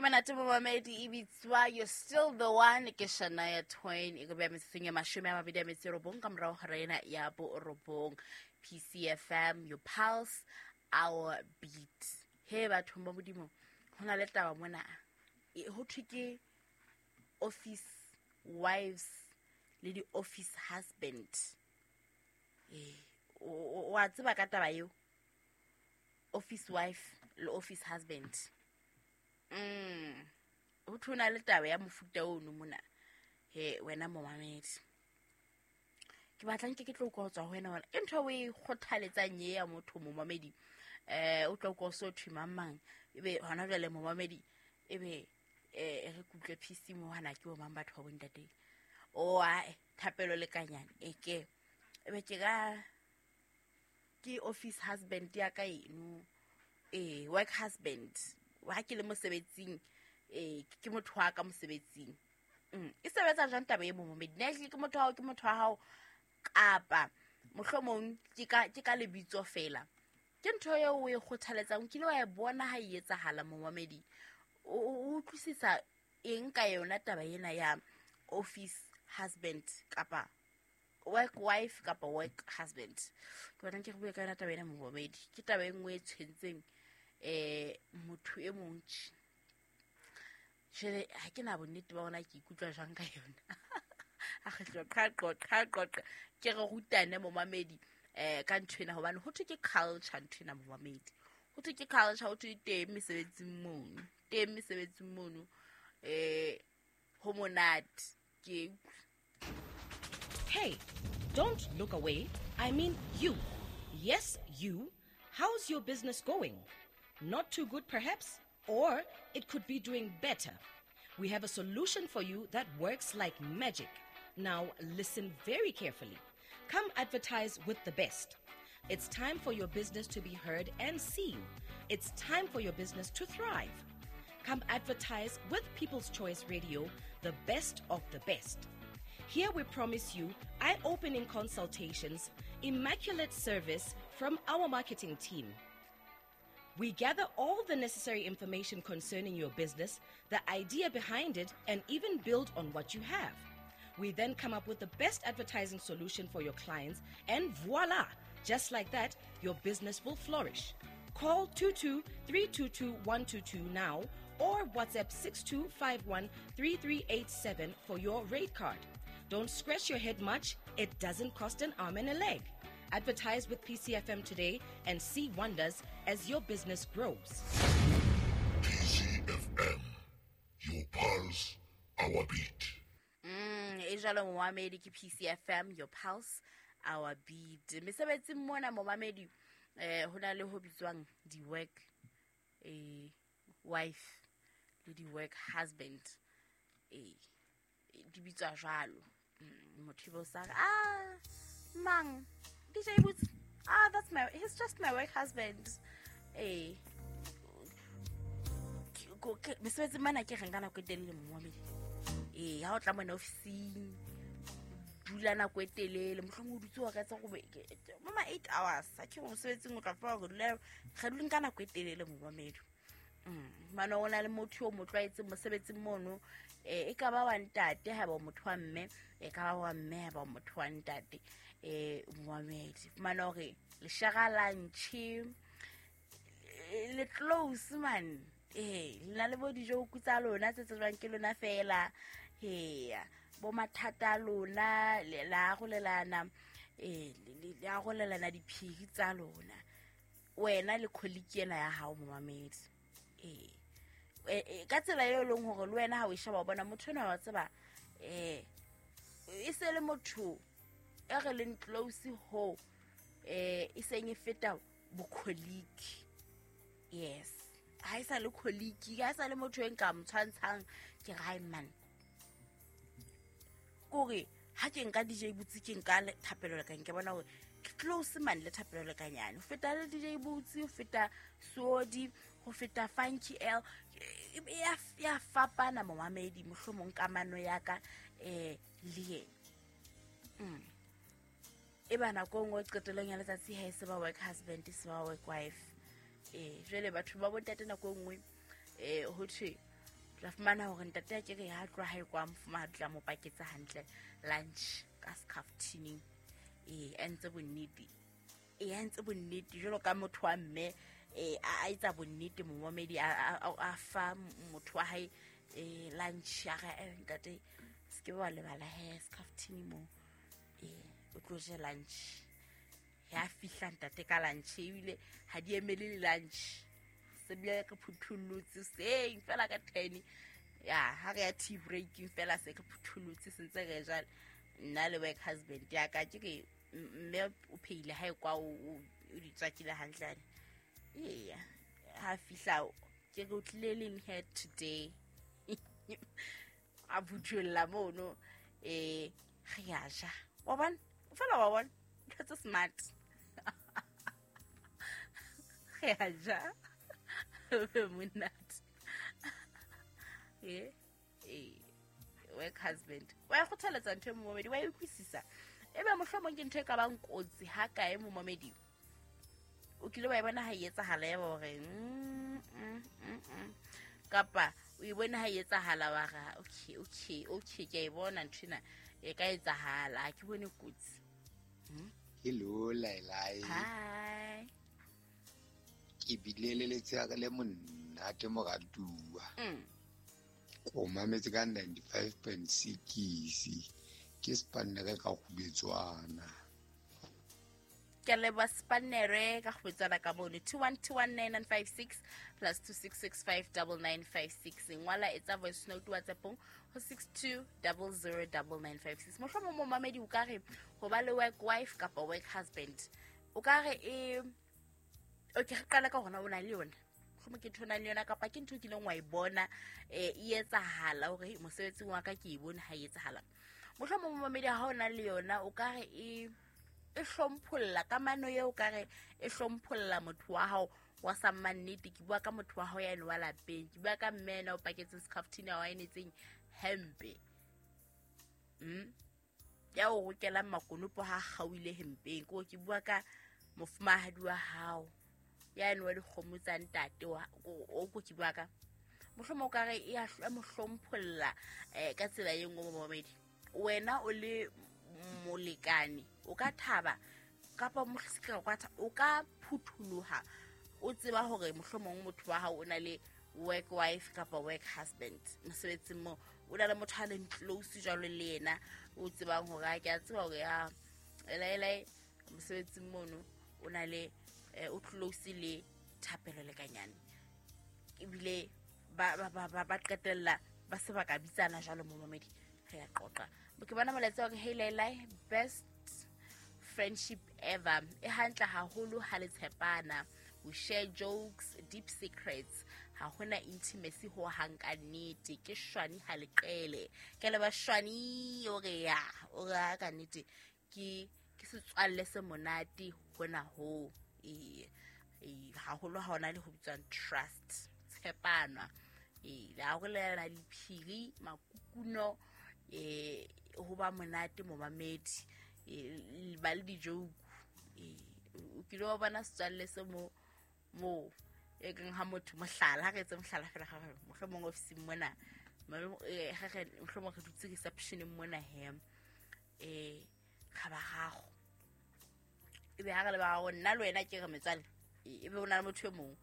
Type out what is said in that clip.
Monate momamedi, e bitswa "You're Still the One" ke Shania Twain. E ko beya metsotsong ya 29 ka morago hora ena ya 9. PCFM, your pulse, our beat. He bathong ba Modimo, go na le taba mona. Ho thwe ke office wives le di-office husband. Ee, wa tseba ka taba eo, office wife le office husband. Ho thwe ho na le taba ya mofuta ono mona. He wena momamedi, ke batla nke ke tlo utlwa ho tswa ho wena hore ke ntho o e kgothaletsang ye ya motho momamedi. O tla utlwa o so thwe mang mang, ebe hona jwale momamedi, ebe re kutlwe PC mo hana ke bo mang batho ba bontate o ae Thapelo Lekanyane. E ke ebe ke ka ke office husband ya ka eno, work husband ha ke le mosebetsing, ke motho wa ka mosebetsing. E sebetsa jwang taba e, momamedi? Na ehlile ke motho wa hao, ke motho wa hao, kapa mohlomong ke ka lebitso fela? Ke ntho eo o e kgothaletsang? O kile wa e bona ha e etsahala, momamedi? O utlwisisa eng ka yona taba ena ya office husband kapa work wife kapa work husband? Ke batlang ke re bue ka yona taba ena, momamedi. Ke taba e nngwe e tshwentseng motho e mong tje. Jwale ha ke na bonnete ba ona ke ikutlwa jwang ka yona. A kgetlo qaqo qaqo, ke re rutane, momamedi, ka nthwena, hobane ho thwe ke culture nthwena, momamedi. Ho thwe ke culture, ho thwe teng mesebetsing mono, teng mesebetsing mono. Ho monate ke Hey, don't look away. I mean you. Yes, you. How's your business going? Not too good, perhaps? Or it could be doing better. We have a solution for you that works like magic. Now, listen very carefully. Come advertise with the best. It's time for your business to be heard and seen. It's time for your business to thrive. Come advertise with People's Choice Radio, the best of the best. Here we promise you eye opening consultations, immaculate service from our marketing team. We gather all the necessary information concerning your business, the idea behind it, and even build on what you have. We then come up with the best advertising solution for your clients, and voila! Just like that, your business will flourish. Call 22 322 122 now or WhatsApp 6251 3387 for your rate card. Don't scratch your head much, it doesn't cost an arm and a leg. Advertise with PCFM today and see wonders as your business grows. PCFM, your pulse, our beat. E jalo, momamedi, ke PCFM, your pulse, our beat. Mesebetsing mona, momamedi, ho na le ho bitswang di-work wife le di-work husband. Di bitswa jwalo. Motho ebe o sa re, "Ah, mang DJ Boots, ah, that's my he's just my work husband." Mesebetsing mana ke reng ka nako e telele, momamedi. Ha o tla mona ofising, dula nako e telele, mohlomong o dutse wa ka etsa gore mama 8 hours. A ke mosebetsing o tla fa gore dula re duleng ka nako e telele, momamedi. Mane o na le motho o mo tlwaetseng mosebetsing mono. E ka ba wa ntate ha ba motho wa mme, e ka ba wa mme ha ba motho wa ntate. Momamedi, fumana hore le share lunch, le close man, le na le bo dijoku tsa lona tse tsejwang ke lona fela. Heya, bo mathata a lona le arolelana, le arolelana diphiri tsa lona, wena le colleague ena ya hao, momamedi. Ka tsela eo e leng hore le wena ha o e sheba, o bona motho enwa wa tseba, e se le motho e re leng close ho e seng e feta bo-colleague. Yes, ha e sa le colleague, ha e sa le motho e nka mo tshwantshang ke re, "Hai man." Kore ha ke nka DJ Boots, ke nka Thapelo Lekang, ke bona hore ke close man le Thapelo Lekanyane ho feta le DJ Boots, ho feta Sodi, ho feta Funky L. Ya fapana, momamedi, mohlomong kamano ya ka le yena. E ba nako e nngwe qetellong ya letsatsi ha e se ba work husband, e se ba work wife. Jwale batho ba bontate nako e nngwe ho thwe Tla fumana hore ntate a ke re ha tloha hae kwa mofumahadi tla mo paketsa hantle lunch ka skhaftining. A ntse bonnete. A ntse bonnete jwalo ka motho wa mme a etsa bonnete momamedi a fa motho wa hae lunch ya re ntate se ke wa lebala he skhaftining mo o tlo je lunch. Ya fihla ntate ka lunch ebile ha di emele le lunch. Se bile re phuthullotse seng fela ka 10 ya ha re ya tea breaking fela se re phuthullotse sentse re jale nna le work husband ya ka ke re mme o pheile hae kwa o di tswakile hantle. Eya ha fihla ke re o tlile leng here today. A phuthulla mono re ya ja. Wa bona fela wa bona ntho tse smart. Re ya ja. Monate. Work husband. Wa kgothaletsa ntho e momamedi wa e utlwisisa. Ebe mohlomong ke ntho e ka bang kotsi ha kae momamedi. O kile wa e bona ha e etsahala ya hore kapa o e bona ha e etsahala wa ra okay ke e bona ntho ena e ka etsahala ha ke bone kotsi. Hello Lailai. Hi. Ke bile le letsatsi le monate moratuwa. Ko mametse ka 95.6 ke Spanere ka Kgubetswana. Ke leboha Spanere ka Kgubetswana ka bone 2121956 plus 26659956. Ngwala etsa voice note WhatsAppong ho 62009956. Mohlomong momamedi o ka re ho ba le work wife kapa work husband. O ka re okay re qala ka hona o na le yona. Mohlomong ke ntho na le yona kapa ke ntho kileng wa e bona e etsahala hore mosebetsing wa ka ke e bone ha e etsahala. Mohlomong momamedi ha o na le yona o ka re e hlompholla kamano eo o ka re e hlompholla motho wa hao wa sa mannete. Ke bua ka motho wa hao ya wa lapeng, ke bua ka mme ena o paketseng skhafthini wa enetseng hempe. Ya o rokelang makonopo ha kgauile hempeng. Ke bua ka mofumahadi wa hao ya ene wa dikgomo tsa ntate wa o ko ke bua ka mohlomong o ka re e a mo hlompholla ka tsela e nngwe momamedi. Wena o le molekane o ka thaba kapa o ka phutholoha o tseba hore mohlomong motho wa hao o na le work wife kapa work husband mosebetsing mo o na le motho a leng close jwalo le yena o tsebang hore a ke a tseba hore ya elaela mosebetsing mono o na le o close le Thapelo Lekanyane ebile ba qetella ba se ba ka bitsana jwalo momamedi. Re ya qoqa. Ke bona molaetsa wa hey Lailai, best friendship ever. E hantle haholo ha le tshepana. We share jokes, deep secrets. Ha hona intimacy ho hang ka nnete. Ke shwani ha le qele. Ke le ba shwani o re ya, o re ka nnete ke setswalle se monate hona ho. Haholo ha hona le ho bitswang trust, tshepana. Le arolelana diphiri, makukuno, ho ba monate momamedi, ba le dijoke. O kile wa bona setswalle se mo e keng ha motho mohlala ha re etse mohlala fela ga re mohlomong ofising mona mohlomong re dutse receptioneng mona he ga ba gago ebe ha re le ba gago nna le wena ke re metswalle ebe o na le motho e mongwe